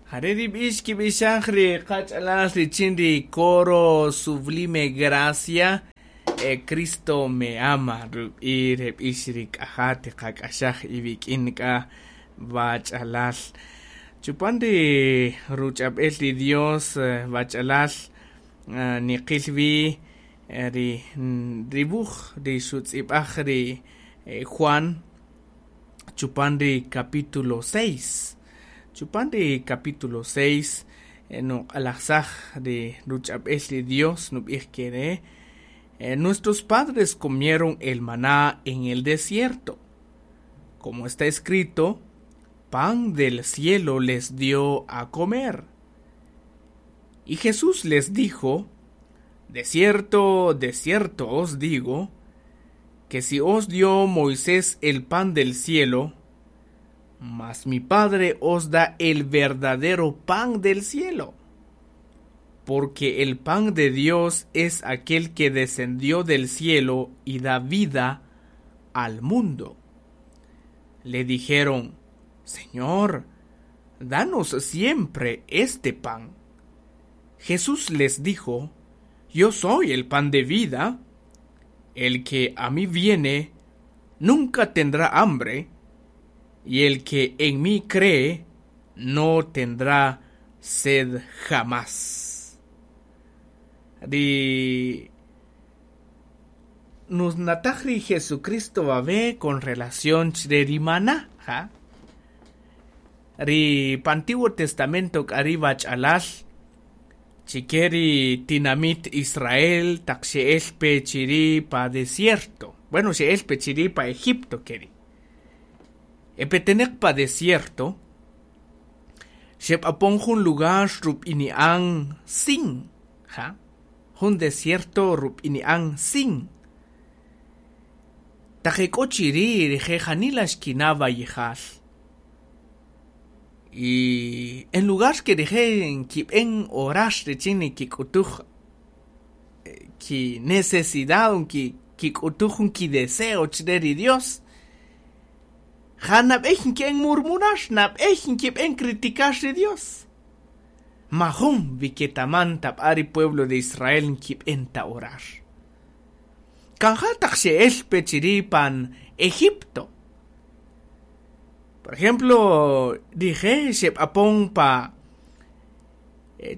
Jare' ri b'ix kib'ixaj ri qach'alal richin ri coro Sublime Gracia, Cristo me ama, rub'i' re b'ix ri k'aja tiqak'axaj iwik'in k'a wach'alal. Chupan ri ruch'ab'el ri Dios wach'alal niqil wi ri ri wuj ri xutz'ib'aj ri Juan chupan ri capítulo 6. Chupan ri capítulo 6 nuq'alajsaj ri ruch'ab'el ri Dios nub'ij kere' Nuestros padres comieron el maná en el desierto. Como está escrito, pan del cielo les dio a comer. Y Jesús les dijo, De cierto, de cierto os digo, que si os dio Moisés el pan del cielo, mas mi Padre os da el verdadero pan del cielo. Porque el pan de Dios es aquel que descendió del cielo y da vida al mundo. Le dijeron, Señor, danos siempre este pan. Jesús les dijo, Yo soy el pan de vida. El que a mí viene nunca tendrá hambre, y el que en mí cree no tendrá sed jamás. Ri nusnataj ri Jesucristo wawe' con relación chre ri maná, ja. Ri pa Antiguo Testamento k'a ri wach'alal chike ri tinamit Israel taq xe'el pe chiri' pa desierto, bueno xe'el pe chiri' pa Egipto keri'. E peteneq pa desierto, xeb'apon jun lugar rub'ini'an Sin, ja, jun desierto rub'ini'an Sin. Taq e k'o chiri' rije' janila xkina' wayijal. Y en lugar que rije' nkib'en orar richin nikik'utuj ki necesidad o kik'utuj jun kideseo chre ri Dios, ja nab'ey nki'en murmurar, nab'ey nkib'en criticar ri Dios. Majun wiketaman tab'a ri pueblo de Israel nkib'en ta orar. Kan ja taq xe'el pe chiri' pan Egipto. Por ejemplo, rije' xeb'apon pa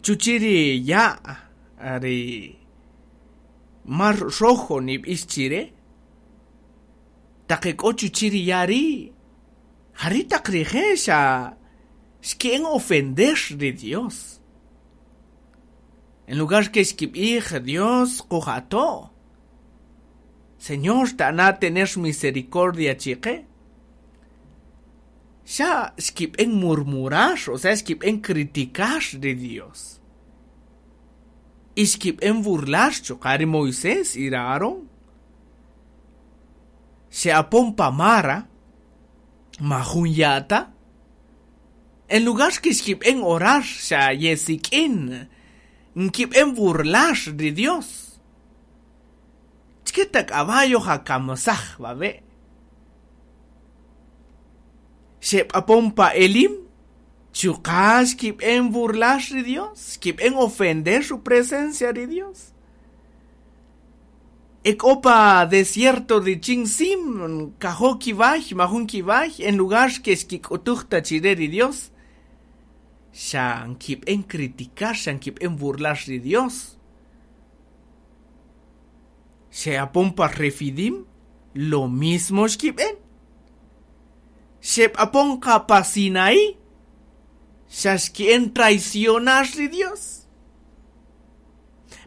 chuchi' ri ya' ri Mar Rojo nib'ix chire', taq e k'o chuchi' ri ya' ri', jari' taq rije' xa xki'en ofender ri Dios. En lugar que xkib'ij Dios qujato', Señor ta'ana tener misericordia chiqe', xa xkib'en murmurar, o sea xkib'en criticar ri Dios. Y xkib'en burlar chuqa' ri Moisés y ri Aarón. Xe'apon pa Mara, majun ya' ta. En lugar que xkib'en orar, xa yesik'in, nkib'en burlar ri Dios. Chike caballo jakamsaj wawe'. Xeb'apon pa Elim, chuqa' xkib'en burlar ri Dios, xkib'en ofender su presencia ri Dios. E k'o pa desierto richin Sim, kajo' kiway, majun kiway, en lugar que xkik'utuj ta chire ri Dios, xa nkib'en criticar, xa nkib'en burlar ri Dios. Xe'apon pa Refidim, lo mismo xkib'en. Xeb'apon qa pa Sinaí, xa xki'en traicionar ri Dios.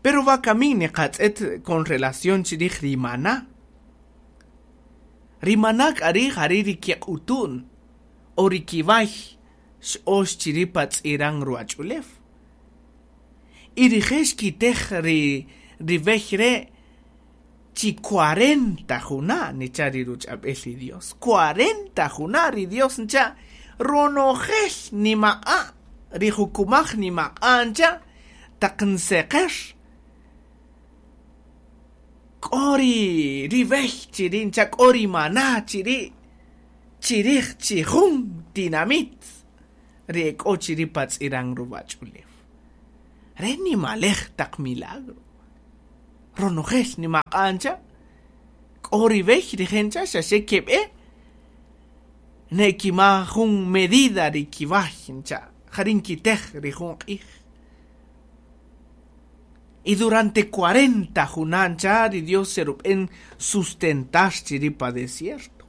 Pero wakami niqatz'et con relación chirij ri maná. Ri maná k'a ri' jari' ri kiq'utu'n o ri kiway x'ox chiri' pa tz'iran ruwach'ulew. Y rije' xkitej ri ri wey re' chi 40 juna' nicha' ri ruch'ab'el ri Dios. 40 juna' ri Dios ncha' ronojel nimaq'a' ri jukumaj nimaq'a' ncha' taq nseqer k'o ri ri wey chiri' ncha' k'o ri maná chiri' chirij chijun tinamit. Ri ek'o chiri' pa tz'iran ruwach'ulew. Re nimalej taq milagro. Ronojel nimaq'a' ncha', k'o ri b'ey rije' ncha' xaxe keb'e, ne'kima jun medida ri kiway ncha', jari' nkitej ri jun q'ij. Y durante 40 juna' ncha' ri Dios xerub'en sustentar chiri' pa desierto.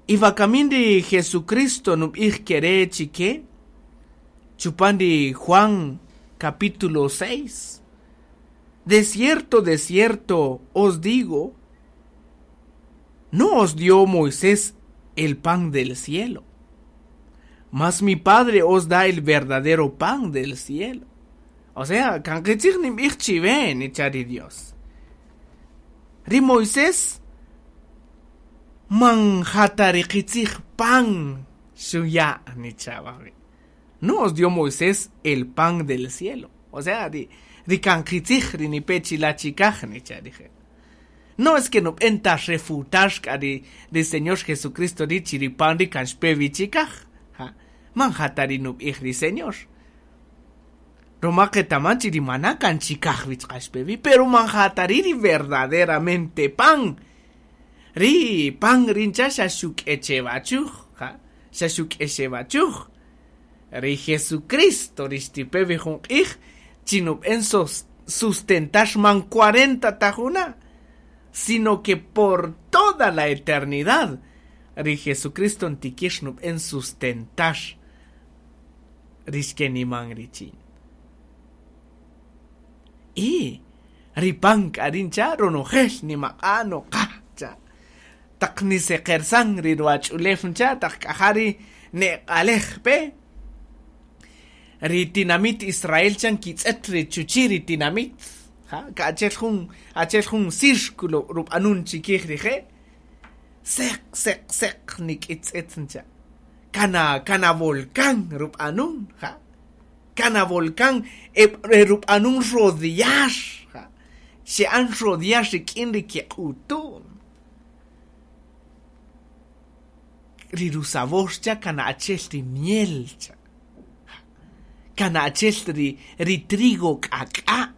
Y wakamin ri Jesucristo nub'ij kere' chike, chupan ri Juan capítulo 6, De cierto, de cierto os digo, no os dio Moisés el pan del cielo, mas mi Padre os da el verdadero pan del cielo. O sea, kan qitzij ninb'ij chiwe, nicha' ri Dios. Ri Moisés man ja ta ri qitzij pan xuya' nicha' wawe'. No os dio Moisés el pan del cielo. O sea, ri, ri kan qitzij ri nipe chila' chikaj, nicha' rije'. No es que nub'en ta refutar k'a ri, ri Señor Jesucristo ri chi ri pan ri kan xpe wi chikaj. Ja, man ja ta ri nub'ij ri Señor. Ruma qetaman chi ri maná kan chikaj wi chuqa' xpe wi, pero man ja ta ri' ri verdaderamente pan. Ri pan ri ncha' xa xuk'echewachuj, ja, xa xuk'exewachuj. Ri Jesucristo ri xtipe wi jun q'ij chi nub'en sustentar man 40 ta juna', sino que por toda la eternidad ri Jesucristo ntikir nub'en sustentar ri xkeniman richin. Y ri pan k'a ri' ncha' ronojel nimaq'a' noqa cha'. Taq niseqersan ri ruwach'ulew ncha' taq k'a ja ri neq'alej pe. Ri tinamit Israel cha nkitz'et ri chuchi' ri tinamit, ja, ka achi'el jun, achi'el jun círculo rub'anun chikij rije', seq, seq, seq nik'itz'et ncha'. Kana, kana volcán rub'anun, ja. Kana volcán e, e rub'anun rodear, ja. Xe'an rodear rik'in ri kiq'utu'n. Ri rusabor cha kana achi'el ri miel cha. Kana achi'el ri, ri trigo k'ak'a'.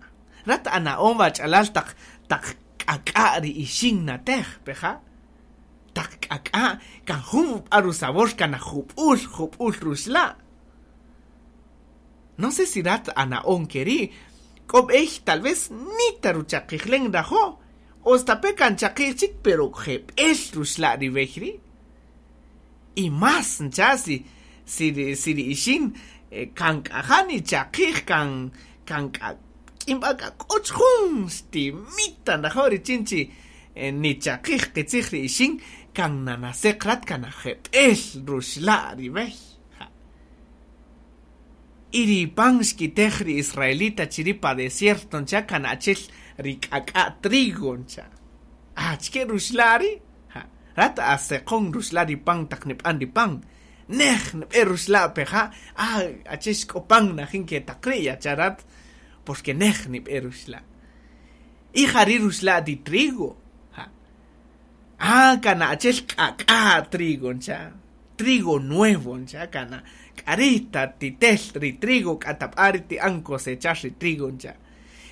Rat ana'on wach'alal taq, taq k'ak'a' ri ixin natej, peja'. Taq k'ak'a' kan jun b'a rusabor kana jub'ul, jub'ul ruxla'. No sé si rat ana'on keri', k'o b'ey tal vez nita ruchaqijlen nrajo', o stape' kan chaqij chik pero jeb'el ruxla' ri b'ey ri'. Y más ncha' si, si ri, si ri ixin kan k'a ja nichaqij, kan, kan k'a k'in b'a k'a k'och jun xtimita nrajo' richin chi nichaqij qitzij ri ixin, kan nanaseq rat kan jeb'el ruxla' ri b'ey. Ja. Y ri pan xkitej ri israelita chiri' pa desierto ncha' kan achi'el ri k'ak'a' trigo ncha'. Achike ruxla' ri'? Ja. Rat aseqon ruxla' ri pan taq nib'an ri pan. Nej nb'e ruxla' peja', ah, achi'el xk'o pan najin ke taq ri' yacha' rat, porque nej nib'e ruxla'. Y jari' ruxla' ri trigo. Ja. Ah, kana achi'el k'ak'a' trigo ncha'. Trigo nuevo ncha' kana k'ari' ta titel ri trigo k'atab'a ri ti'an cosechar ri trigo ncha'.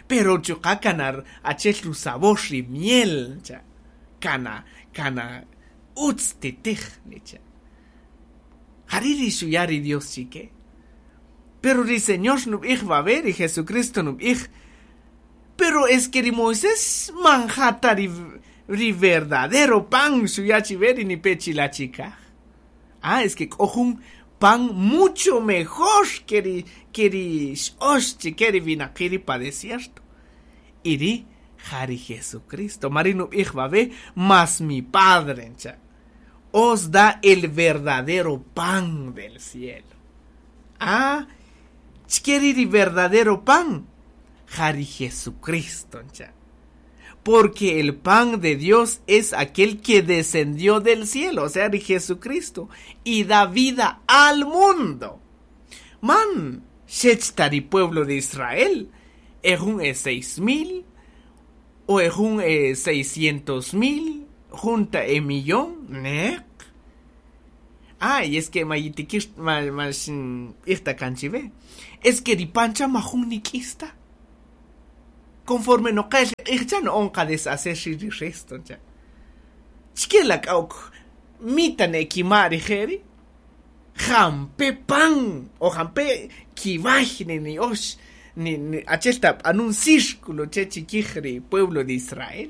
Pero chuqa' kana achi'el rusabor ri miel ncha'. Kana, kana utz titij nicha'. Jari' ri xuya' ri Dios chike. Pero ri Señor nub'ij wawe', ri Jesucristo nub'ij, pero es que ri Moisés man ja ta ri, ri verdadero pan xuya' chiwe ri nipe chila' chikaj. Ah, es que k'o jun pan mucho mejor que ri, que ri x'ox chike ri winaqi' ri pa desierto. Y ri ja ri Jesucristo. Mari nub'ij wawe', mas mi Padre ncha', os da el verdadero pan del cielo. Ah, chike ri ri verdadero pan, ja ri Jesucristo ncha'. Porque el pan de Dios es aquel que descendió del cielo, o sea, de Jesucristo, y da vida al mundo. Man, xech ta ri pueblo de Israel, ejun e 6,000, o ejun e 600,000, junta e millón, nek. Ah, y es que mayitikir ma ma irta kanchive. Es que ripancha majun nik'ista. Conforme no qel q'ij no onqa deshacer ri resto cha. Chkela k'auk mita ne kimari jeri. Jampe pan o jampe kibaj ni ni osh ni ni achelta anun círculo che chiquij pueblo de Israel.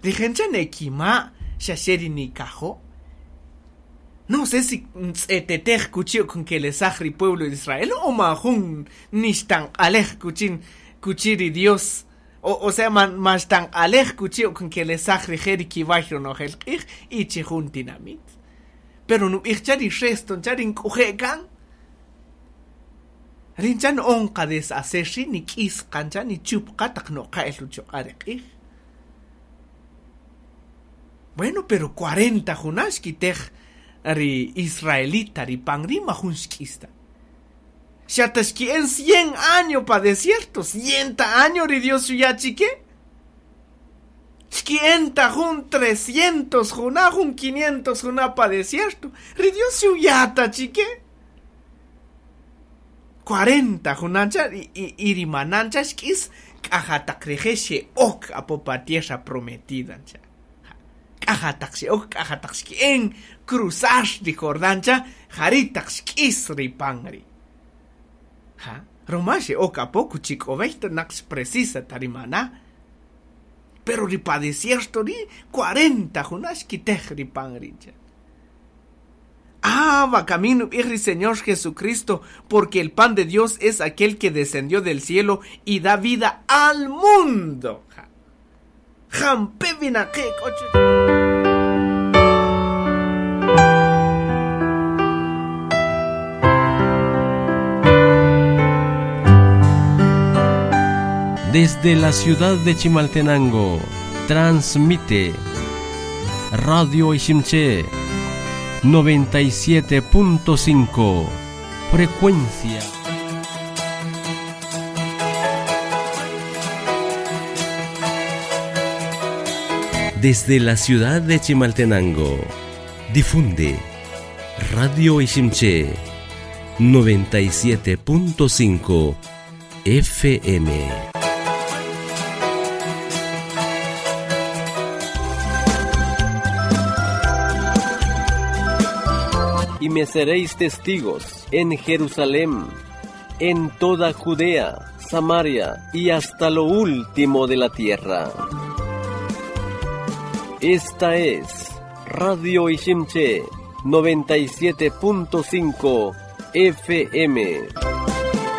Rijencha ne kima xaxeri ni kajo. No sé si ntz'etetej kuchi con que les pueblo de Israel o majun nixtan alej kuchin kuchiri Dios o sea man tan alej kuchi con que les jeri kibaj ronojel q'ij y chijun tinamit. Pero no chari resto chari nk'uje'kan rinchan onqa deshacerri ni k'isqancha ni chupqa taq noqa'el uchoq'ari q'ij. Bueno, pero 40 junax kitej ri israelita ri pan ri majun xk'ista. Xataxki en 100 años pa desierto, 100 años ri Dios xuyachique. Xki'enta jun 300 juna, jun 500 juna pa desierto. Ri Dios xuyata chique. 40 junancha y ri manancha xk'is k'ajataq rije xe'ok apo pa tierra prometida cha. K'ajataq xe'ok k'ajataq xki'en cruzar ri Jordán cha jaritaq xk'is ri pan ri. Ja, roma xe'ok apo kuchik'ob'ej naqx precisa tarimana. Pero ri pa desierto ri 40 juna xkitej ri pan ri cha. Ah, va camino, ri Señor Jesucristo, porque el pan de Dios es aquel que descendió del cielo y da vida al mundo. Desde la ciudad de Chimaltenango, transmite Radio Iximché 97.5, frecuencia. Desde la ciudad de Chimaltenango, difunde Radio Iximché 97.5 FM. Y me seréis testigos en Jerusalén, en toda Judea, Samaria y hasta lo último de la tierra. Esta es Radio Iximché 97.5 FM.